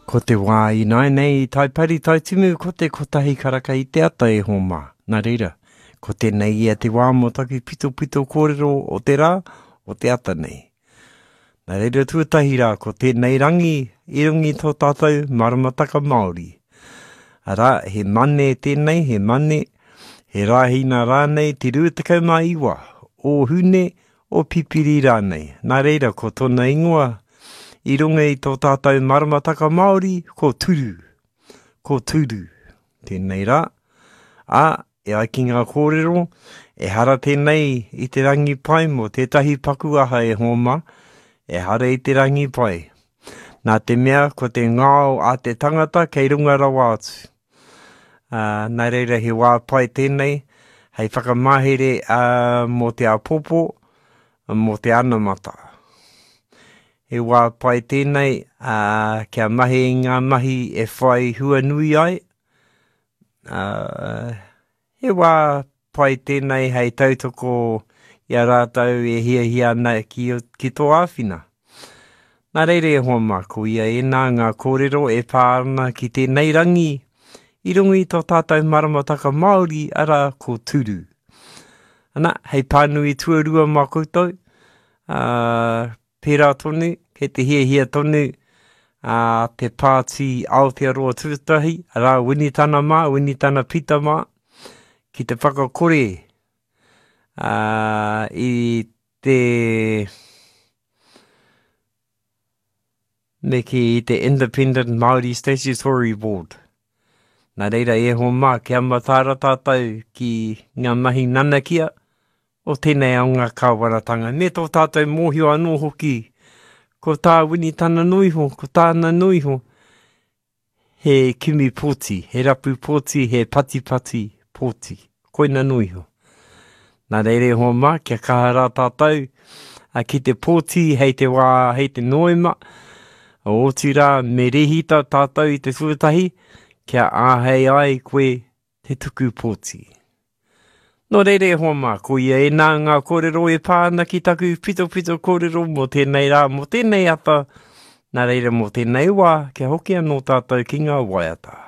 Ko te wā ināianei i Taipari Taitimu ko te kotahi karaka i te ata e hōmā. Nā reira, ko tēnei ia te wā mō taku pitopito kōrero o te rā, o te ata nei. Nā reira tuatahi rā ko tēnei rangi i runga i tō tātou maramataka Māori. Arā, he mane tēnei, he mane, he rāhina rānei te 29 o Hune, o Pipiri rānei. Nā reira ko tōna ingoa i runga i tō tātou maramataka Māori ko Turu. Ko Turu tēnei rā. Ā, e ai ki ngā kōrero, ehara tēnei i te rangi pai mō tētahi paku aha e hōma, ehara i te rangi pai. Nā te mea ko te ngao a te tangata kei runga rawa atu. Ā, nā reira he wā pai tēnei hei whakamahere ā, mō te āpōpō, mō te anamata. He wā pai tēnei ā, kia mahi i ngā mahi e whai hua nui ai, ā, He wā pai tēnei hei tautoko i a rātou e hiahia ana ki, ki tō āwhina. Nā reira e hoa mā, ko ia ēnā ngā kōrero e pā ana ki tēnei rangi i runga i tō tātou maramataka Māori, arā, ko Turu. Ana, hei pānui tuarua mā koutou, ā, Pērā tonu, kei te hiahia tonu a te Pāti Aotearoa Tuatahi, arā Winitana mā, Winitana Pita mā, ki te whakakore ā, i te me kī i te Independent Māori Statutory Board. Nā reira e hoa mā, kia mataara tātou ki ngā mahi nanakia, o tēnei ao ngā kāwanatanga, me tō tātou mōhio anō hoki, ko tā Winitana Noiho, ko tāna Noiho, he kimi pōti, he rapu pōti, he patipati pōti. Koina Noiho. Nā reira e hoa mā, kia kaha rā tātou ki te pōti hei te wā, hei te Noema, otirā me rehita tātou i te tuatahi, kia āhei ai koe te tuku pōti. Nō reira e hoa mā, ko ia ēnā ngā kōrero e pā ana ki taku pitopito kōrero mō tēnei rā, mō tēnei ata, nā reira mō tēnei wā, kia hoki anō tātou ki ngā waiata.